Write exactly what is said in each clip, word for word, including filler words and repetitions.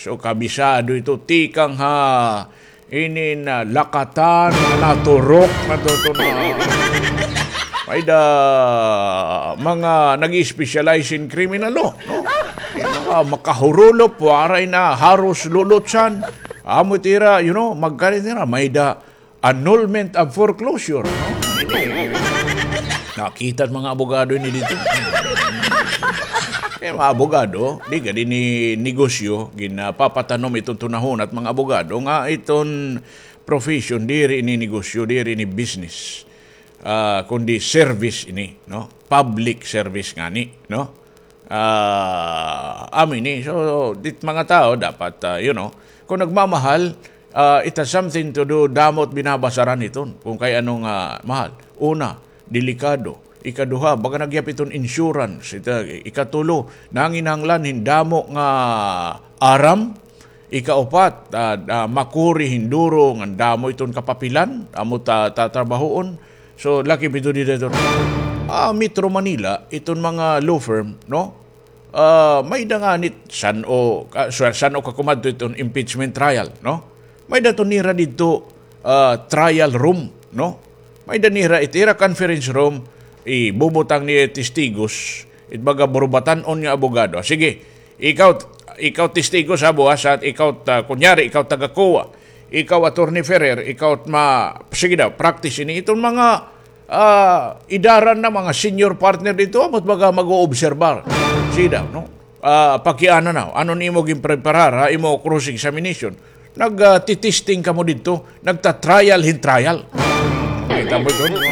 So, kabisado ito, tikang ha inin, ah, lakatan, naturok na to, to na. May da mga nag-specialize in criminal law, no? Yung mga makahurulop, waray na, haros lulutsan. Amo it ira, you know, magkarit nira, may da annulment of foreclosure, no? Nakita it mga abogado ini dito. Eh, mga abogado, di gad ini negosyo, ginapapatanom iton tunahon it mga abogado nga iton profession, diri ini negosyo, diri ini business. Ah, kundi service ini, no? Public service ngani, no? Ah, amo ini. So, dit mga tao dapat, ah, you know, kung nagmamahal, ah, it has something to do, damo it binabasaran iton, kung kay ano nga mahal. Una, delikado. Ikaduha, baga nagyap iton insurance. Ita-, ikatulo, nanginahanglan hin damo nga aram. Ikaupat, ah, ah, makuri hin duro nga damo iton kapapilan, amo ta-, tatrabahoon. So, lakip ito dida iton, ah, Metro Manila, iton mga law firm, no? Ah, may da ngani it san-o, ah, sa-, san-o ka kumadto iton impeachment trial, no? May da iton nira didto, ah, trial room, no? May da nira it ira conference room, ibubutang niya testigos, it baga burubatan-on nga abogado. Sige, ikaw, ikaw testigo sa buwas, at ikaw, ta-, kunyari, ikaw taga-COA, ikaw Attorney Ferrer, ikaw ma-, sige daw, practice ini. Iton mga ah, idaran na mga senior partner didto, amo it baga mag-oobserbar. Sida, no? Ah, pakiana na, ano an imo ginpreparar ha imo cross-examination? Nag, ah, titisting kamo didto, nagta-trial hin trial. Kita mo ito, no?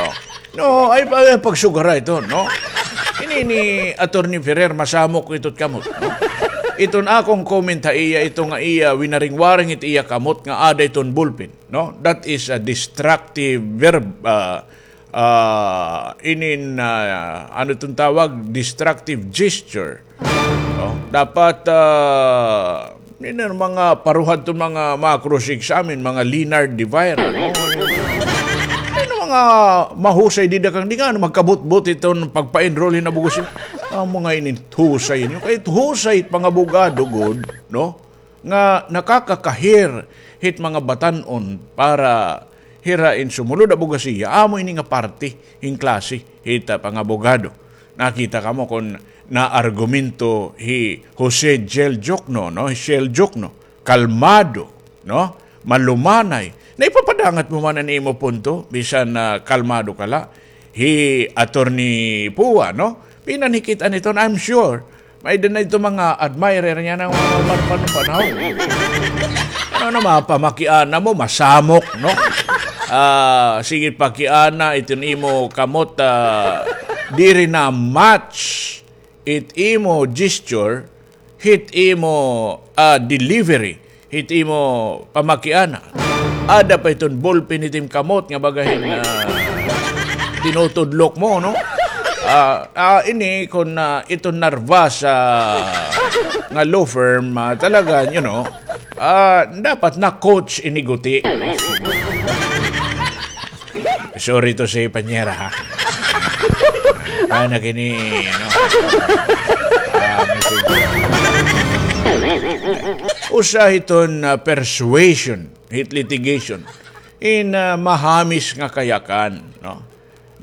Oh. No, ay, ay, pagsugara ito, no? Ini ni Attorney Ferrer, masamok ito it kamot, no? Iton akon comment ha iya, ito nga iya, winaring-waring it iya kamot nga ada iton ballpen. No? That is a destructive verb, ah, ah, inin, ah, ano iton tawag? Destructive gesture. No? Dapat, ah, inin mga paruhad iton mga, mga cross-examine, mga Leonard de Vera, no? Ano mga mahusay dida kang di nga, ano, magkabutbot iton pagpa-enroll hin abogado. Ang mga inin husay niyo. Kay husay it mga abogado, gud, no? Nga nakakakahir hit mga batan-on para hira in sumulod abogasiya, amo ini nga parte hin klase hit, ah, pangabogado. Nakita kamo kon naargumento hi Jose Jel Jokno, no? Hi Shell Jokno, kalmado, no? Malumanay. Naipapadangat mo man an imo punto, bisan na kalmado ka la. Hi Attorney Pua, no? Pinanhikit-an iton, I'm sure. May-ada na ito mga admirer niya na mga man-, man-, panahon. Ano na, mapamakiana mo, masamok, no? Ah, sige, pakiana, iton imo kamot, ah, diri na match it imo gesture, hit imo, ah, delivery, hit imo pamakiana. Ada pa iton ballpen hit im kamot nga baga hin, ah, tinutudlok mo, no? Ah, ah, ini kon, ah, iton narvas, ah, nga law firm, ah, talaga, you know, ah, dapat na-coach ini guti. Sorry to say, panyera, ha? Ana kini, ano? Ah, message. Usa hiton, ah, persuasion, hit litigation. In, ah, mahamis nga kayakan, no?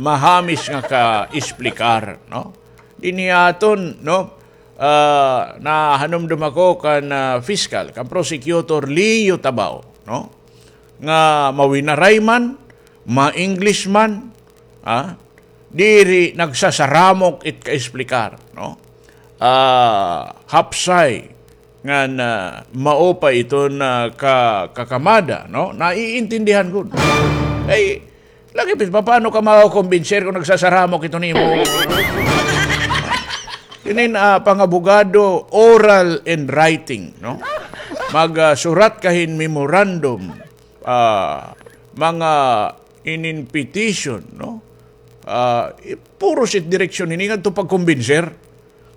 Mahamis nga ka-explicar, no? Dinhi aton, no? Ah, nahanumdom ako kan, ah, fiscal, kan prosecutor Leo Tabao, no? Nga mawinaray man, ma-English man, ah, diri nagsasaramok it ka-explicar, no? Ah, hapsay ngan, ah, mao pa iton, ah, ka-, kakamada, no? Naiintindihan gud. Ay, lagi, papaano ka makokombinser kon nagsasaramok iton imo? Inin, ah, pangabogado, oral and writing, no? Mag, ah, surat ka hin memorandum, ah, mga inin petition, no? Ah, i-, puros it direksyon ini ngadto pagkumbinser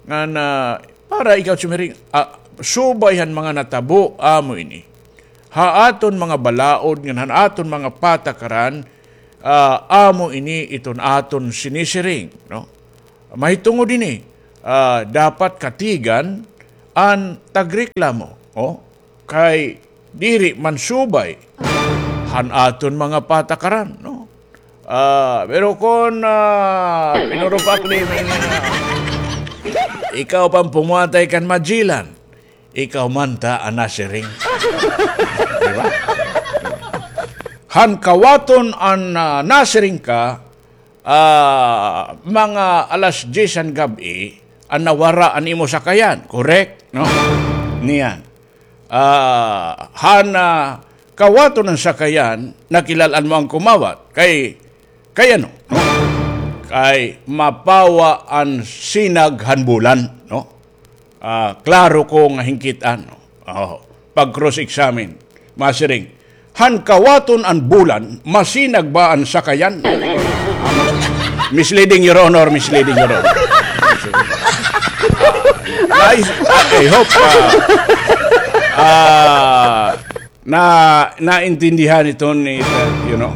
ngan, ah, para ikaw sumiring, ah, subay han mga natabo, amo ini. Ha aton mga balaod ngan han aton mga patakaran, ah, amo ini iton aton sinisiring, no? Mahitungod ini, ah, dapat katigan an tagreklamo, oh, kay diri man subay han aton mga patakaran, no? Ah, pero kon, ah, pinurupak ni, ah, ikaw pa an pumatay kan Magellan, ikaw man ta an nasiring. Di ba? Han kawaton an, ah, nasiring ka, ah, mga alas diyes han gab-i, an nawara an imo sakayan, correct? No? Niyan. Ah, han, ah, kawaton an sakayan, nakilal-an mo an kumawat. Kay, kay ano? No? Kay mapawa an sinag han bulan, no? Ah, klaro ko nga hingkit-an, no? Oh, pag-cross-examine, masiring, "Han kawaton an bulan, masinag ba an sakayan?" Misleading, Your Honor, misleading, Your Honor. Nice. I hope, ah, ah, na, naintindihan ito ni, you know.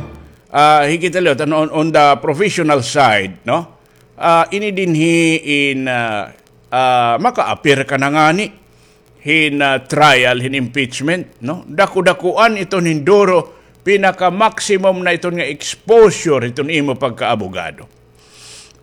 Ah, hikita liwat, ano, on, on the professional side, no? Ah, ini dinhi in, ah, ah, maka-appear ka na ngani hin, ah, trial, hin impeachment, no? Daku-dakuan iton hin duro, pinaka-maximum na iton nga exposure iton imo pagkaabogado.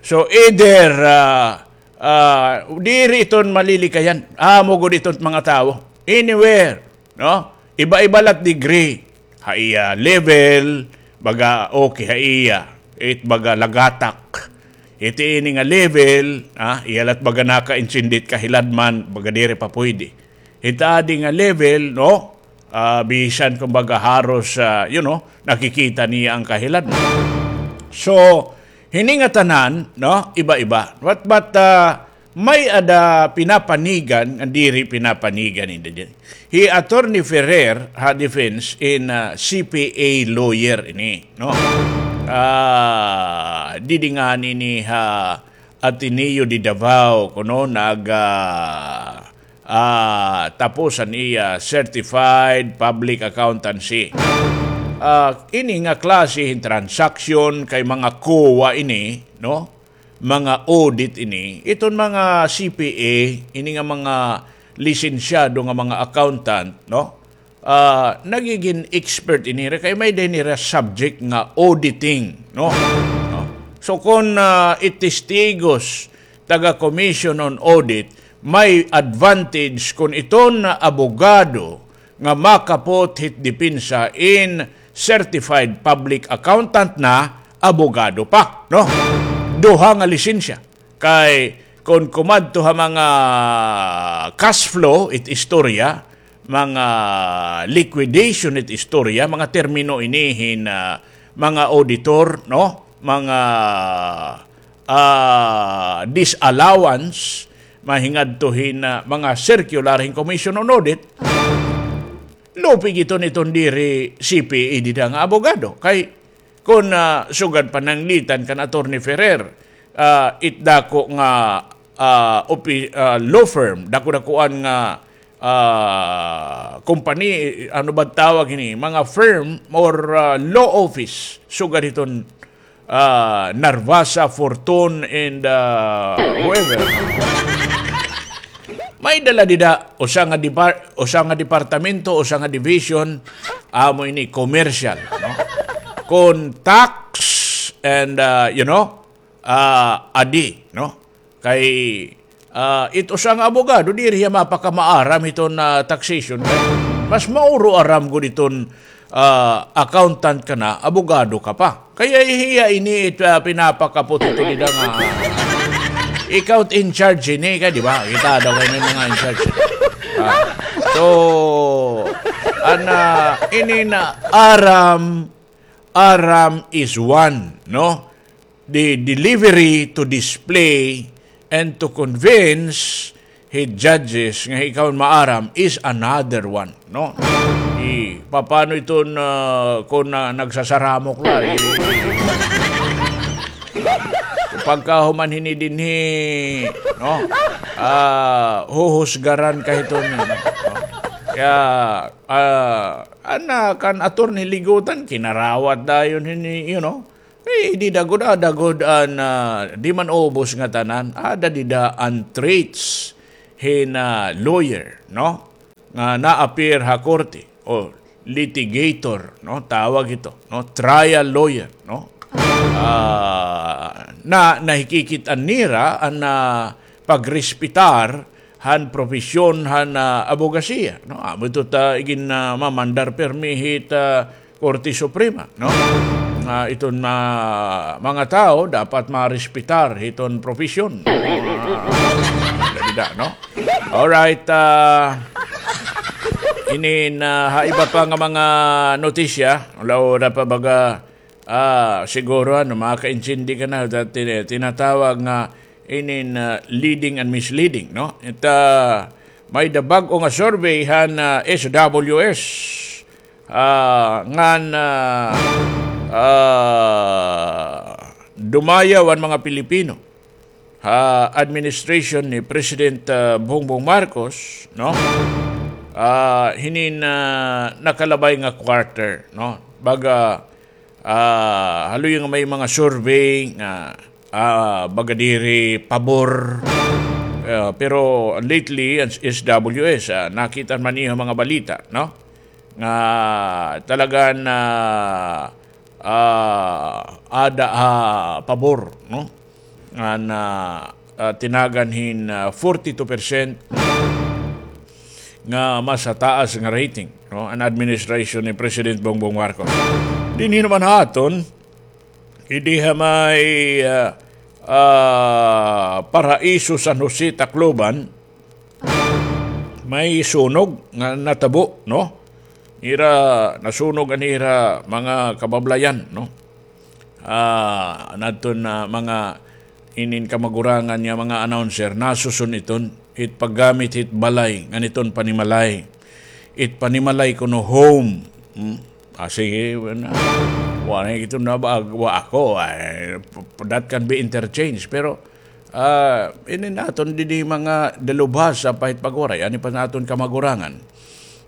So, either, ah, ah, diri iton malilikayan. Amo gud iton mga tawo. Anywhere, no? Iba-iba lat degree. Ha iya level, baga okay ha iya. It baga lagatak. Iti ini nga level, ah, iya lat baga nakaintindi it kahiladman, baga diri pa pwede. Hit adi nga level, no? Ah, bisan kumbaga haros, ah, you know, nakikita niya an kahiladman. So, hini ngatanan, no? Iba-iba. But, but, ah, may-ada pinapanigan, nga diri pinapanigan, hindi din. Hi Attorney Ferrer, ha defense in, ah, C P A lawyer ini, no? Ah, didi ngani ini ha Ateneo de Davao, kuno, nag, ah, ah, tapos an iya certified public accountancy. Ah, ini nga klase hin transaksyon kay mga COA ini, no? Mga audit ini, iton mga C P A, ini nga mga lisensyado nga mga accountant, no? Ah, nagigin expert ini ra kay may-ada ini ra subject nga auditing, no? No? So, kon, ah, it testigos taga Commission on Audit, may advantage kon iton abogado nga makapot hit depensa in certified public accountant na abogado pa, no? Duha nga lisensya. Kay kon kumadto ha mga cash flow it istorya, mga liquidation it istorya, mga termino ini hin, ah, mga auditor, no? Mga, ah, disallowance, mahingadto hin, ah, mga circular hin Commission on Audit, lupig iton, iton diri C P A dida nga abogado. Kay kon, ah, sugad pananglitan kan Attorney Ferrer, ah, it dako nga, ah, opi-, ah, law firm, dako-dakoan nga, ah, company, ano ba tawag ini? Mga firm or, ah, law office, sugad iton ah, Narvasa, Fortune, and, ah, whoever. May-ada la dida, usa nga depar-, usa nga departamento, usa nga division, amo ini commercial, no? Kon tax and, ah, you know, ah, adi, no? Kay, ah, it usa nga abogado, diri hiya mapakamaaram hiton, ah, taxation. Kay mas mauro aram gud iton, ah, accountant ka na, abogado ka pa. Kay hiya ini it, ah, pinapakapot ito dida nga, ah, ikaw it in charge ini, kay, di ba? Kita daw kay may mga in charge. Ah, so, ana, ini na aram, aram is one, no? The delivery to display and to convince hi judges nga ikaw maaram is another one, no? I, papano iton, ah, kon, ah, nagsasaramok la, i, pagkahuman hini dinhi, no? Ah, huhusgaran ka hiton, no? Kaya, ah, ana kan Attorney Ligutan, kinarawat dayon hini, you know? Eh, dida gud, ada gud an, ah, di man ubos nga tanan. Ada dida an traits hin, ah, lawyer, no? Nga na-appear ha korte o litigator, no? Tawag ito, no? Trial lawyer, no? Ah, na nahikikit-an nira an, ah, pagrespetar han propesyon han, ah, abogasiya, no? Amo ito ta igin, ah, mamandar pirmi hit, ah, Korte Suprema, no? Nga iton, ah, mga tawo dapat marespetar hiton propesyon. Ah, dida, no? Alright, ah, inin, ah, ha iba pa nga mga notisya, wala, wala pa baga, ah, siguro, ano, makakaintindi ka na, that tin-, tinatawag nga inin, ah, leading and misleading, no? It, ah, may-ada bag-o nga survey han, ah, S W S, ah, ngan, ah, ah, dumayaw an mga Pilipino ha administration ni President, ah, Bongbong Marcos, no? Ah, hinin, ah, nakalabay nga quarter, no? Baga, ah, haloy nga may mga survey nga, ah, baga diri pabor. Ah, pero lately, an S W S, ah, nakita man niyo mga balita, no? Nga talagan, ah, ah, ada ha pabor, no? Nga na, ah, tinagan hin, ah, forty-two percent nga mas taas nga rating, no, an administration ni President Bongbong Marcos. Dinhi naman ha aton, idi ha may, ah, ah, Paraiso, San Jose, Tacloban, may sunog nga natabo, no? Ira, nasunog an ira mga kabablayan, no? Ah, nadton na mga inin kamagurangan nga mga announcer, nasuson iton, it paggamit hit balay, ngan iton panimalay. It panimalay kuno home. Hmm? Ah, sige, wala na. Wala na iton na ba, wa ako, ay, p-, p-, that can be interchanged. Pero, ah, inin aton didi mga dalubhasa pa hit pagwaray, ani pa naton kamagurangan.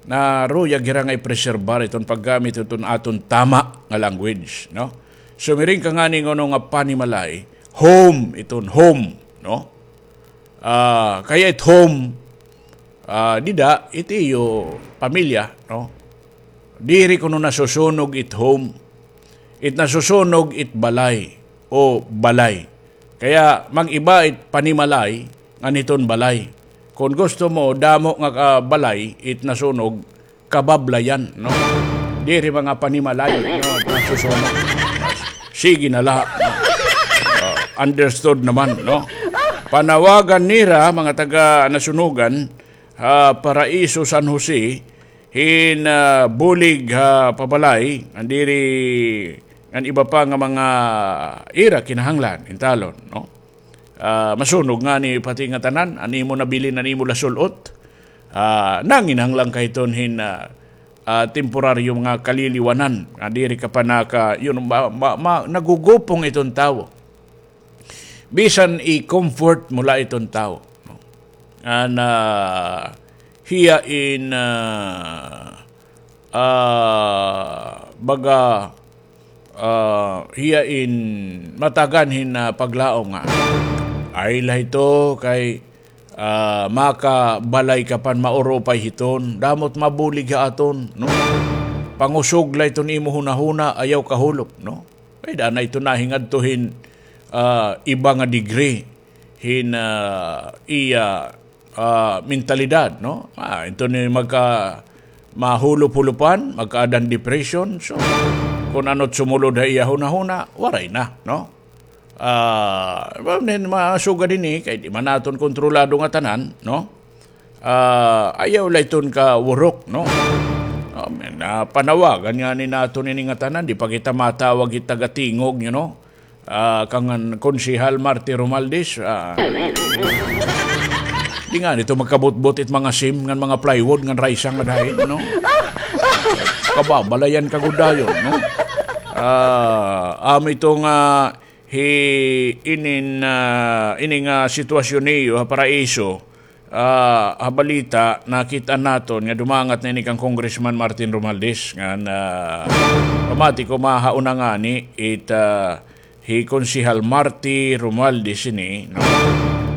Na ruyag hira nga i-preserbar iton paggamit iton aton tama nga language, no? Sumiring ka ngani ngano nga panimalay, home iton, home, no? Ah, kay it home, ah, dida, it iyo pamilya, no? Diri kuno nasusunog it home. It nasusunog it balay o balay. Kaya mag-iba it panimalay ngan iton balay. Kon gusto mo, damo nga ka-, balay, it nasunog, kabablayan, no? Diri mga panimalay, no? Nasusunog. Sige na la, no? Ah, understood naman, no? Panawagan nira, mga taga Nasunugan, ha Paraiso, San Jose, hin, ah, bulig ha pabalay, ngan diri, ngan iba pa nga mga ira kinahanglan, intalon, no? Ah, masunog ngani pati nga tanan, an imo nabilin, an imo lasul-ot. Ah, nanginahanglan ka hiton hin, ah, ah, temporaryo nga kaliliwanan, nga diri ka pa naka-, yun, ma-, ma-, ma-, nagugupong iton tawo. Bisan i-comfort mo la iton tawo, no? An, ah, hiya in, ah, ah, baga, ah, hiya in matagan hin, ah, paglaom nga, ay la hito kay, ah, makabalay ka pan maurupay hiton, damo it mabulig ha aton, no? Pangusog la iton imo hunahuna, ayaw kahulop, no? Kay daan na ito nahingadto hin, ah, iba nga degree hin, ah, iya, ah, mentalidad, no? Ah, ito ni magka-, mahulop-hulopan, magkaadan depression. So, kon ano it sumulod ha iya hunahuna, waray na, no? Ah, well, then, mga sugad ini, kay di man naton kontrolado nga tanan, no? Ah, ayaw la iton kawurok, no? Ah, men, ah, panawagan ngani naton ini nga tanan, di pa kita matawag hit taga-tingog, you know? Ah, kang Konsehal Marty Romualdez, ah, di ngani ito magkabutbot it mga sim ngan mga plywood ngan raysang nga dahin, no? Kababalayan ka gud dayon, no? Ah, amo ito nga hi-, inin, ah, ini nga sitwasyon niyo ha Paraiso, ah, ha balita, nakit-an naton nga dumangat na ini kan Congressman Martin Romualdez, ngan, ah, pamati ko mahauna ngani it, ah, hi Konsehal Marty Romualdez ini, no?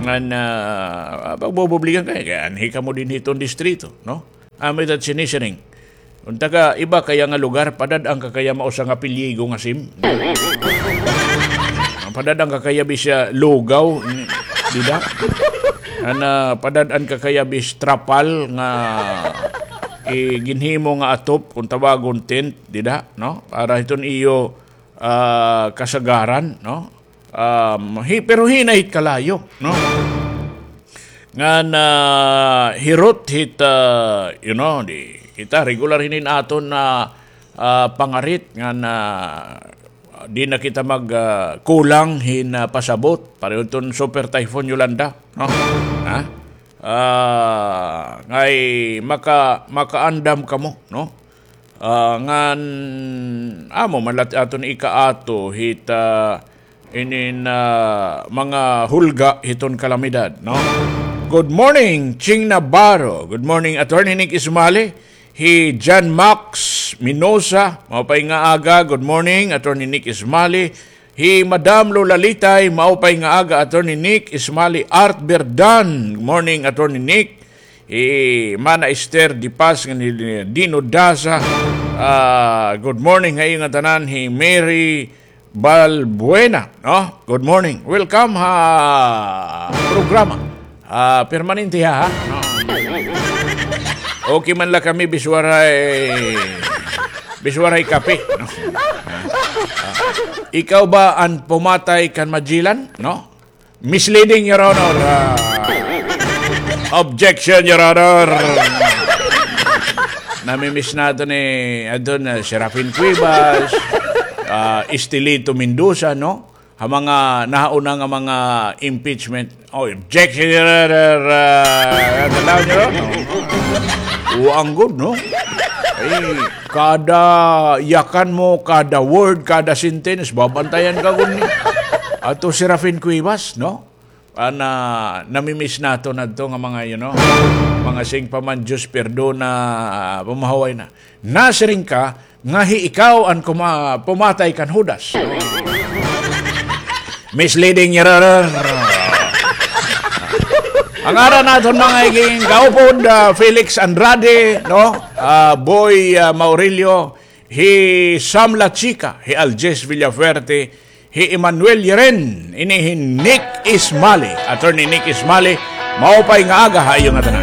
An, ah, pagbububligan kay, kay anhi kamo dinhi hiton distrito, no? Amo ita sinisiring. Unta ka, iba kaya nga lugar, padad-an ka kaya mausa nga pilyigo nga sim. Padad-an ka kaya bis, ah, lugaw, dida? An, ah, padad-an ka kaya bis trapal nga, eh, ginhimo nga atop, kung tawagon tent, dida, no? Para hiton iyo, ah, kasagaran, no? Um, hi-, pero hinay hit kalayo, no? Ngan, ah, hirot hit, ah, you know, di, kita regular hinin aton na, ah, pangarit ngan, ah, di na kita mag, ah, kulang hin, ah, pasabot. Pareho hiton Super Typhoon Yolanda, no? Ha? Ah, ngay maka-, makaandam kamo, no? Ah, ngan amo man la it aton ikaato hit, ah, inin, ah, mga hulga hiton kalamidad, no? Good morning, Ching Navarro. Good morning, Attorney Nick Ismali. Hi John Max Minosa, maupay nga aga. Good morning, Attorney Nick Ismali. Hi Madam Lola Litay, maupay nga aga, Attorney Nick Ismali. Art Berdan, good morning, Attorney Nick. Hi Mana Esther Di Paz, ngan hi Dino Daza. Ah, good morning ha iyo nga tanan. Hi Mary Balbuena, no? Good morning. Welcome ha programa. Ah, permanente ha, ha? No. Okay man la kami, biswaray, biswaray kape, no? Ikaw ba an pumatay kan Magellan, no? Misleading, Your Honor. Ah, objection, Your Honor. Namimiss naton ni, adto na, Serafin Cuevas, ah, Estelito Mendoza, no? Ha mga nahauna nga mga impeachment. Oh, objection, Your Honor. Ah, tanaw niyo, no? Uang gud, no? Ay, kada yakan mo, kada word, kada sentence, babantayan ka gud ni. Ato Serafin Cuevas, no? Ana, namimiss naton adto nga mga, you know, mga sing pa man Diyos perdona, ah, pamahuway na. Nasiring ka nga hi ikaw an kuma-, pumatay kan Judas. Misleading, Your Honor. An ngaran naton mga iging kaupod, ah, Felix Andrade, no? Ah, Boy, ah, Maurilio, hi Sam La Chica, hi Aljes Villafuerte, hi Emmanuel Yeren, ini hi Nick Ismali, Attorney Nick Ismali, maupay nga aga ha iyo nga tanan.